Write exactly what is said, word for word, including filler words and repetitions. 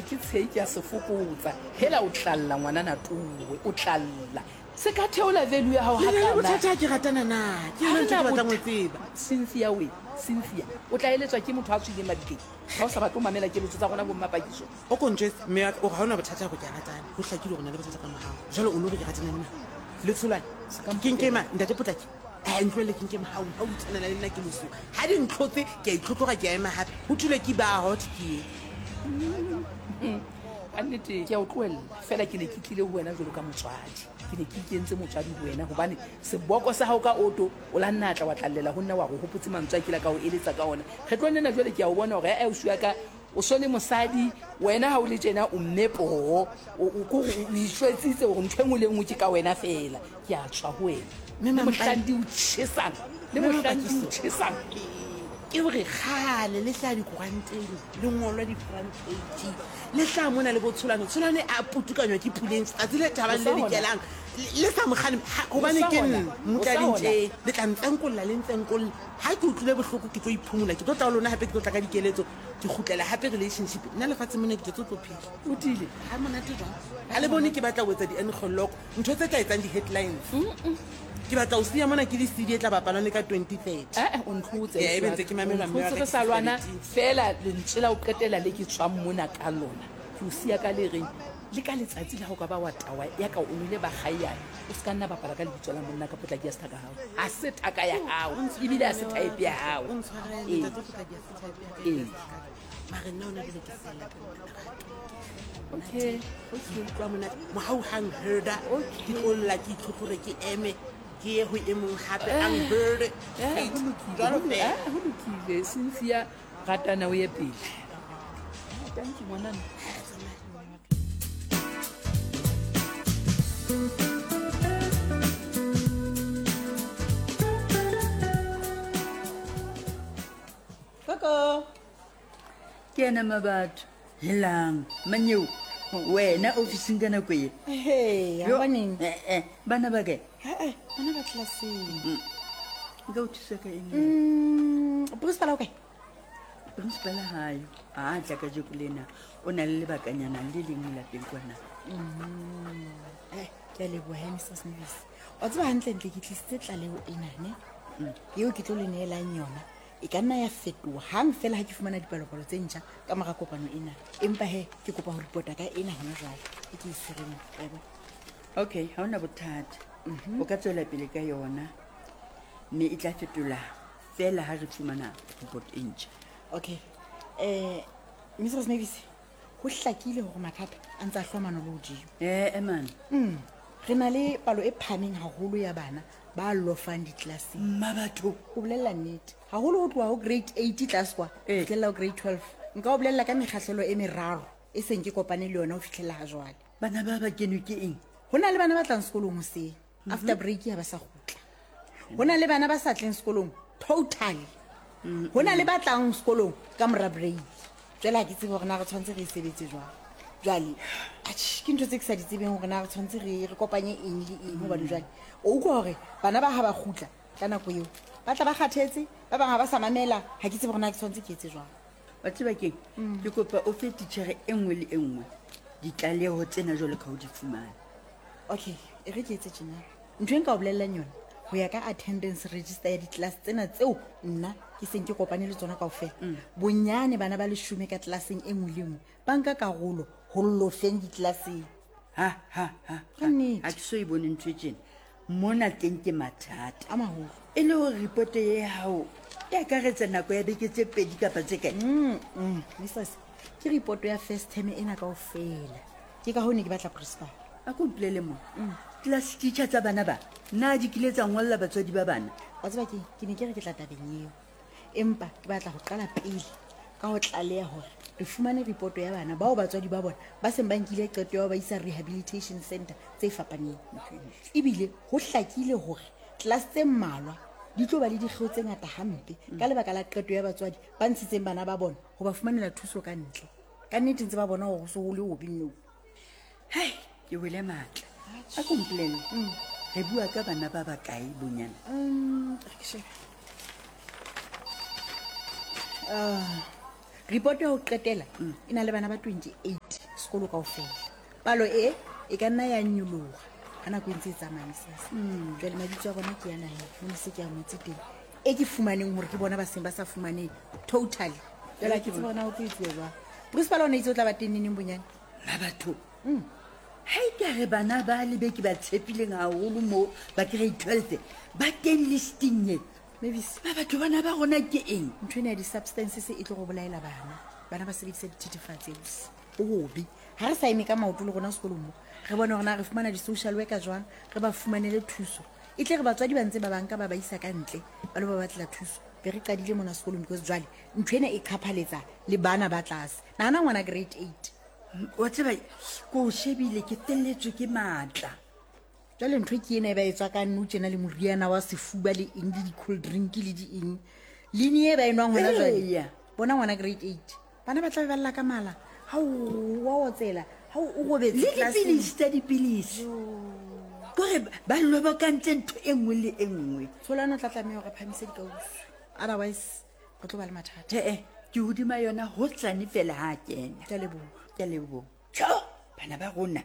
ke tshei ke a se fokotsa. Hela o tlalla ngwanana tuwe, o tlalla. Se ka theola value ya hao Le na le hakana. bothata ha ke ratana na? Ke yona ntho e ke batlang ho e tseba. Cynthia we, Cynthia, o tla eletswa ke motho a tswileng mabitleng. Ha o sa batle ho mamela keletso tsa rona bo Mmapakiso. O ko ntjwetse, mme wa ka, o re ha ona bothata hore ke a ratana. Ho hlakile hore o na le bothata ka morao. Jwale o no re ke ratana le mang? Le Tsholwane? Ke nke mang? Ntate Potlaki? Eh, ntlohelle ke nke mohau, ha o tshwanela le nna ke mosuwe. Ha di ntlhotse, ke a itlhotlhora, ke a ema hape. Ho thulwe ke ba hot ke e. Ka nnete ke a o tlohella. Feela ke ne ke tlile ho wena jwalo ka motswadi. Ke ne ke ikentse motswadi ho wena hobane seboko sa hao ka oto o la nna tla wa tlallela ho nna wa re hopotse mantswe a kile ka o eletsa ka ona. Kgetlong lena jwale ke a o bona hore eh, ausi wa ka o so le mosadi, wena ha o le tjena o mme poho. O, o, ko re o itjwetsitse hore ntho e nngwe le e nngwe ke ka wena feela. Ke a tswa ho wena. Mme Le Mampai- mohlang di o tjhesang, le Mme mohlang di o Mapakiso. tjhesang. Ke hore kgale le hlaha dikoranteng, le ngolwa di-front page, le hlaha mona le bo Tsholwane. Tsholwane a putukanywa ke Puleng tsatsi le thabang le O sa hona. dikelang, le sa mo kgalema. Ha, hobane O sa ke hona. nna O sa motlading hona. tje, le tla ntsenkolla, le ntsenkolla. Ha ke utlwile bohloko ke tlo iphumola, ke tlo tla ho lona hape, ke tlo tla ka dikeletso, ke kgutlela hape relationship. Nna lefatsheng mona ke tletse ho tlo phela. O tiile? Ha monate jwang? Ha le bone ke batla ho etsa di-engeloko, ntho tse tla etsang di-headlines. Ke batla ho siya mona ke le C D e tla bapalwang le ka twenty thirty. Eh, eh, o ntlhotse, Eh, ebe ntse ke mamela O mme wa ntlhotse ka re sa ke lwana, sebeditse. feela lentswe la ho qetela le ke tswang mona ka lona. Ke o siya ka le reng, le ka letsatsi la ho ka ba wa tawa ya ka o nwele ba kgaiana, o se ka nna bapala ka lebitso la monna ka Potlaki ya se thaka hao. Ha se thaka ya hao, ebile ha se type ya hao. O ntshwarele, Ee. ntate Potlaki ya se type ya ka, Ee. ya se thaka. Mare nna hona jwale ke sella ka lerato. Okay, okay. Utlwa monate. Mohau hang herda. Okay. Ke tlo lla, ke itlhotlhore, ke eme, ke ye ho e mong hape, ang herde. Eh, ho lokile, Jwalo ho lo- feela. eh, ho lokile. Cynthia, ratana o ye pele. Thank you, ngwanana. Koko. Ke ena mabatho. Helang, manyeo, wena ofising ka nako e? Hey, Yo, hobaneng? eh, eh, bana ba kae? Eh, eh, bana ba tlelaseng. Mm. Nka o thusa ka eng? Mm, principal o kae? Principal ha yo. Ha a tla kajeko lena, o na le lebakanyana le leng lapeng kwana. Mm. Eh, ke a leboha, he, Missus Mavis. Wa tseba hantlentle ke tlisitse tlaleho ena, ne? Mm. Eo ke tlo le neelang yona. E ka nna ya fetoha hang feela ha ke fumana dipalopalo tse ntjha ka mora kopano ena. Empa he, ke kopa ho report-a ka ena hona jwale. E ke e tshwereng, wa e bona? Okay, ha hona bothata. Mhm. O ka tswela pele ka yona, mme e tla fetola feela ha re fumana report e ntjha. Okay. Eh, Missus Mavis, ho hlakile hore mathata a ntse a hlwa manolo hodimo. Eh, eh, man. Mm. Re na le palo e phahameng haholo ya bana ba lofang ditlelaseng. Mma batho. Ho bolella nnete. Haholo ho tloha ho grade eight tlase kwa, Eh. ho fihlella ho grade twelve. Nka o bolella ka mekgahlelo e meraro e seng ke kopane le yona ho fihlella ha jwale. Bana ba ba kenwe ke eng? Ho na le bana ba tlang sekolong hoseng, Mhm. after break ha ba sa kgutla. Ho na le bana ba sa tleng sekolong totally. Mm-hmm. Ho na le ba tlang sekolong ka mora break. Jwale ha ke tsebe hore na re tshwanetse re e sebetse jwang. Jwale, atjhe, ke ntho tse ke sa di tsebeng hore na re tshwanetse re, re kopanye eng le eng, hobane jwale o utlwa hore bana ba ha ba kgutla ka nako eo, ba tla ba kgathetse, ba bang ha ba sa mamela, ha ke tsebe hore na ke tshwanetse ke etse jwang. Wa tseba keng? Mm. Ke kopa o fe titjhere e nngwe le e nngwe ditlaleho tsena jwalo ka ho di fumana. Okay, e re ke etse tjena. Ntho e nka o bolellang yona, ho ya ka attendance register ya di-class tsena tseo nna ke seng ke kopane le tsona kaofela. Mm. Bonyane bana ba leshome ka tlelaseng e nngwe le nngwe ba nka karolo ho lofeng ditlelaseng. Ha, ha, ha, Ka nnete. Ha ke so e bone ntho e tjena. Mona teng ke mathata. A maholo. E le hore report e hao e akaretsa nako ya beke tse pedi kapa tse kae? Mm, mm, Missus, ke report ya first term ena kaofela. Ke ka hoo ne ke batla principal. A ko mpolelle mo. Mm. Class teacher tsa bana ba, na di kile tsa ngolla batswadi ba bana? Wa tseba ke, ke ne ke re ke tla tabeng eo. Empa ke batla ho qala pele ka ho tlaleha hore re fumane report ya bana bao batswadi ba bona ba seng ba nkile qeto ya ho ba isa rehabilitation center tse fapaneng. Ebile ho hlakile hore class tse mmalwa di tlo ba le dikgeo tse ngata hampe ka lebaka la qeto ya batswadi ba ntshitseng bana ba bona ho ba fumanela thuso ka ntle. Ka nnete ntse ba bona hore ho se ho le hobe nou. Hei, ke wele matla. A ko mpolelle. Mm. Re bua ka bana ba bakae bonyane? Mm, re ke shebe. Ah, Report ya ho qetela e na le bana ba twenty-eight sekolo kaofela. Palo e e ka nna ya nyoloha ha nako e ntse e tsamaya misese. Jwale mabitso a bona ke yana he, mo se ke a ngotse teng. E ke fumaneng hore ke bona ba seng ba sa fumaneng totally. Jwale ha ke tsebe hore na ho tlo etsuwa jwang. Principal o ne itse o tla ba teng neneng bonyane? Mabatho. Ha e ka re bana ba le be ke ba tshepileng haholo mo ba grade twelve ba teng listing e. Mavis. Ba batho bana ba rona ke eng? Ntho ena ya di-substances e tlo go bolaela bana. Bana ba sebedisa dithethefatsi ausi. Ho hobe. Ha re sa eme ka maoto le rona sekolong mo, re bone hore na re fumana di-social worker jwang, re ba fumanele thuso. E tle re batswadi ba ntse ba banka ba ba isa ka ntle, ba lo ba batlela thuso. Be re qadile mona sekolong because jwale ntho ena e qhaphaletsa le bana ba tlase. Nahana ngwana grade eight. Wa tseba ko o shebile ke felletswe ke matla. Jwale ntho ke ena e ba e tswa ka nou tjena le moriana wa sefuba le eng le di-cold drink le di eng. Leine e ba e nwang hona jwale. Eya. Bona ngwana grade eight. Bana ba tla be ba lla ka mala. Ha o wa otsela, ha o robetse Le classeng. dipilisi tsa dipilisi. Kore ba lobokantse ntho e nngwe le e nngwe. Tsholano o tla tlameha hore a phahamise dikausu. Otherwise re tlo ba le mathata. Tjhe, ke hodima yona hosane fela ha a kena. Ke a leboha. Ke a leboha. Tjho, bana ba rona.